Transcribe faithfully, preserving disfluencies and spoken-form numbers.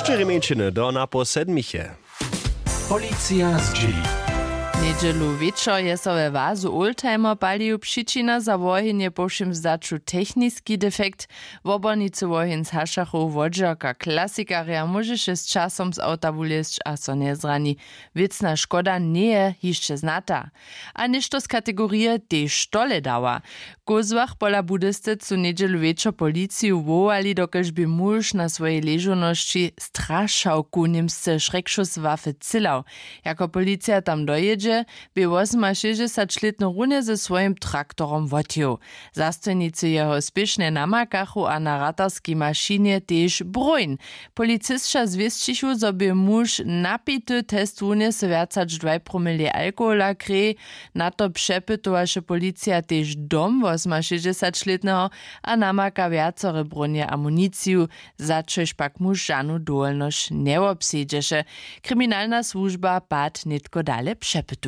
Štyri mjeńšiny do napoł sedmiche. Policija zdźěli. Njedźelu wječor je so we wazu oldtimer palił. Přičina za woheń je po wšěm zdaću techniski defekt. Wobornicy woheń z hašachow wodźerka klasikarja móžeše z časom z awta wulězć a so njezrani. Wěcna škoda njeje hišće znata. A něšto z kategorije tež tole dała. W kózłach pola budysty su njedźelu wječor policiju wołali, dokelž bě muž na swojej ležownosći strašałku, němsce Schreckschusswaffe, cylał. Jako policija tam dojědźe, bě wosomašěsćdźesaćlětny runje ze swojim traktorom wotjěł. Zastojnicy jeho spěšnje namakachu a na ratarskej mašinje tež broń. Policisća zwěsćichu, zo bě muž napity, test wunjesył wjac hač dwaj promilej alkohola w krej. Na to přepytowaše policija tež dom wosomašěsćdźesaćlětneho a namaka wjacore brónje a amuniciju, za čož pak muž žanu dowolnosć njewobsedźeše. Kriminalna słužba pad nětko dale přepytuje.